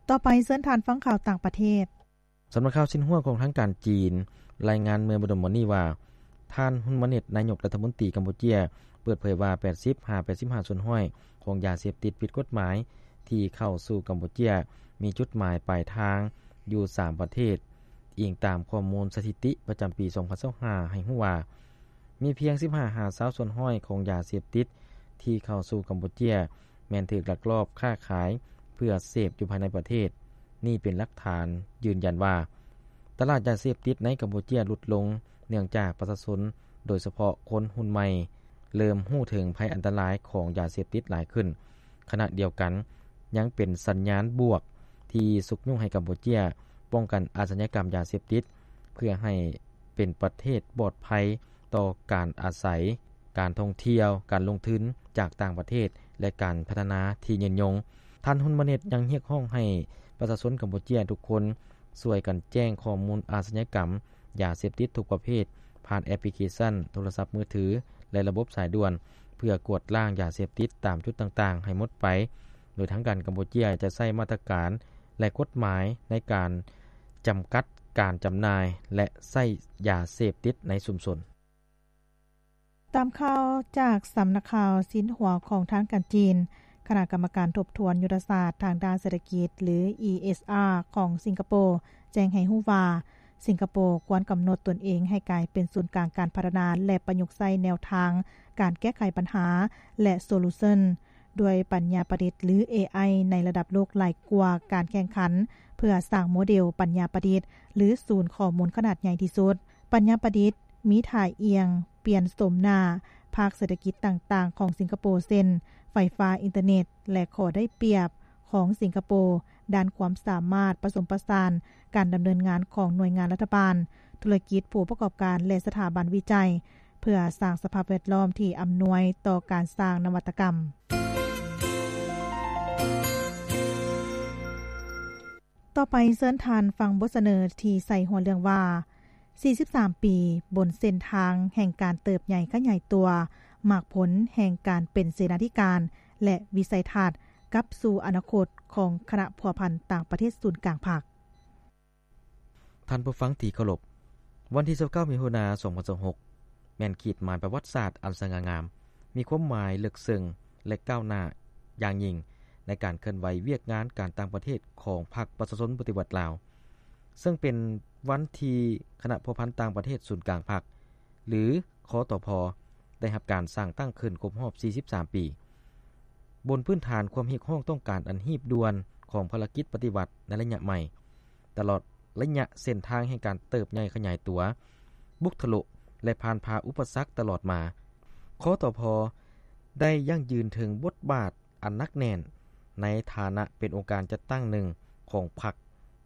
ຕໍ່ໄປເຊີນທ່ານຟັງຂ່າວຕ່າງປະເທດ. ສຳນັກຂ່າວຊິນຫົວຂອງທາງການຈີນ ລາຍງານເມື່ອບໍ່ດົນມານີ້ວ່າ ທ່ານ ຮຸນມາເນັດ ນາຍົກລັດຖະມົນຕີກຳປູເຈຍ ເປີດເຜີຍວ່າ ແປດສິບຫາແປດສິບຫ້າສ່ວນຮ້ອຍຂອງຢາເສບຕິດຜິດກົດໝາຍ ທີ່ເຂົ້າສູ່ກຳປູເຈຍ ມີຈຸດໝາຍປາຍທາງຢູ່ສາມປະເທດ, ອີງຕາມຂໍ້ມູນສະຖິຕິປະຈຳປີສອງພັນຊາວຫ້າ ໃຫ້ຮູ້ວ່າ ມີພຽງສິບຫ້າຫາຊາວສ່ວນຮ້ອຍຂອງຢາເສບຕິດທີ່ເຂົ້າສູ່ກຳປູເຈຍ ແມ່ນຖືກລັກລອບຄ້າຂາຍເພື່ອເສບຢູ່ພາຍໃນປະເທດ. ນີ້ເປັນຫຼັກຖານຢືນຢັນວ່າ ຕະຫຼາດຢາເສບຕິດໃນກຳປູເຈຍຫຼຸດລົງ ເນື່ອງຈາກປະຊາຊົນ ໂດຍສະເພາະຄົນຮຸ່ນໃໝ່ ເລີ່ມຮູ້ເຖິງໄພອັນຕະລາຍຂອງຢາເສບຕິດຫຼາຍຂຶ້ນ. ຂະນະດຽວກັນ ຍັງເປັນສັນຍານບວກທີ່ຊຸກຍູ້ໃຫ້ກຳປູເຈຍປ້ອງກັນອາຊະຍາກຳຢາເສບຕິດ ເພື່ອໃຫ້ເປັນປະເທດປອດໄພຕໍ່ການອາໄສ ການທ່ອງທ່ຽວ, ການລົງທຶນຈາກຕ່າງປະເທດ ແລະ ການພັດທະນາທີ່ຍືນຍົງ. ທ່ານ ຮຸນມາເນັດ ຍັງຮຽກຮ້ອງໃຫ້ປະຊາຊົນກຳປູເຈຍທຸກຄົນ ຊ່ວຍກັນແຈ້ງຂໍ້ມູນອາຊະຍາກຳຢາເສບຕິດທຸກປະເພດ ຜ່ານແອັບພລິເຄຊັນໂທລະສັບມືຖື ແລະ ລະບົບສາຍດ່ວນ ເພື່ອກວດລ້າງຢາເສບຕິດຕາມຈຸດຕ່າງໆໃຫ້ໝົດໄປ, ໂດຍທາງການກຳປູເຈຍຈະໃຊ້ມາດຕະການ ແລະ ກົດໝາຍໃນການຈຳກັດການຈຳໜ່າຍ ແລະ ໃຊ້ຢາເສບຕິດໃນຊຸມຊົນ. ຕາມຂ່າວຈາກສຳນັກຂ່າວຊິນຫົວຂອງທາງການຈີນ, ຄະນະກຳມະການທົບທວນຍຸດທະສາດທາງດ້ານເສດຖະກິດ ຫຼື ອີເອສອາ ຂອງສິງກະໂປ ແຈ້ງໃຫ້ຮູ້ວ່າ ສິງກະໂປຄວນກຳນົດຕົນເອງໃຫ້ກາຍເປັນສູນກາງການພັດທະນາ ແລະ ປະຍຸກໃຊ້ແນວທາງການແກ້ໄຂບັນຫາ ແລະ ໂຊລູຊັນ ດ້ວຍປັນຍາປະດິດ ຫຼື ເອໄອ ໃນລະດັບໂລກຫຼາຍກວ່າການແຂ່ງຂັນ ເພື່ອສ້າງໂມເດລປັນຍາປະດິດ ຫຼື ສູນຂໍ້ມູນຂະໜາດໃຫຍ່ທີ່ສຸດ. ປັນຍາປະດິດມີທ່າອ່ຽງປ່ຽນໂສມໜ້າພາກເສດຖະກິດຕ່າງໆຂອງສິງກະໂປ ເຊັ່ນ ໄຟຟ້າ, ອິນເຕີເນັດ ແລະ ຂໍ້ໄດ້ປຽບຂອງສິງກະໂປດ້ານຄວາມສາມາດປະສົມປະສານການດຳເນີນງານຂອງໜ່ວຍງານລັດຖະບານ, ທຸລະກິດ, ຜູ້ປະກອບການ ແລະ ສະຖາບັນວິໄຈ ເພື່ອສ້າງສະພາບແວດລ້ອມທີ່ອຳນວຍຕໍ່ການສ້າງນະວັດຕະກຳ. ຕໍ່ໄປເຊີນທ່ານຟັງບົດສະເໜີທີ່ໃສ່ຫົວເລື່ອງວ່າ ສີ່ສິບສາມປີ ບົນເສັ້ນທາງແຫ່ງການເຕີບໃຫຍ່ຂະຫຍາຍຕົວ, ໝາກຜົນແຫ່ງການເປັນເສນາທິການ ແລະ ວິໄສທັດກັບສູ່ອະນາຄົດຂອງຄະນະພົວພັນຕ່າງປະເທດສູນກາງພັກ. ທ່ານຜູ້ຟັງທີ່ເຄົາລົບ, ວັນທີຊາວເກົ້າ ມິຖຸນາ ສອງພັນຊາວຫົກ ແມ່ນຂີດໝາຍປະຫວັດສາດອັນສະຫງ່າງາມ, ມີຄວາມໝາຍເລິກເຊິ່ງ ແລະ ກ້າວໜ້າຢ່າງຍິ່ງໃນການເຄື່ອນໄຫວວຽກງານການຕ່າງປະເທດຂອງພັກປະຊາຊົນປະຕິວັດລາວ, ເຊິ່ງເປັນວັນທີ່ຄະນະພົວພັນຕ່າງປະເທດສູນກາງພັກ ຫຼື ຄຕພ ໄດ້ຮັບການສ້າງຕັ້ງຂຶ້ນຄົບຮອບ ສີ່ສິບສາມ ປີ. ບົນພື້ນຖານຄວາມຮຽກຮ້ອງຕ້ອງການອັນຮີບດ່ວນຂອງພາລະກິດປະຕິວັດໃນໄລຍະໃໝ່, ຕະຫຼອດໄລຍະເສັ້ນທາງແຫ່ງການເຕີບໃຫຍ່ຂະຫຍາຍຕົວ, ບຸກທະລຸ ແລະ ຜ່ານຜ່າອຸປະສັກຕະຫຼອດມາ, ຄຕພ ໄດ້ຢັ້ງຢືນເຖິງບົດບາດອັນໜັກແໜ້ນໃນຖານະເປັນອົງການຈັດຕັ້ງໜຶ່ງຂອງພັກ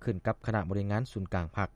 ຂຶ້ນກັບຄະນະບໍລິຫານງານສູນກາງພັກ,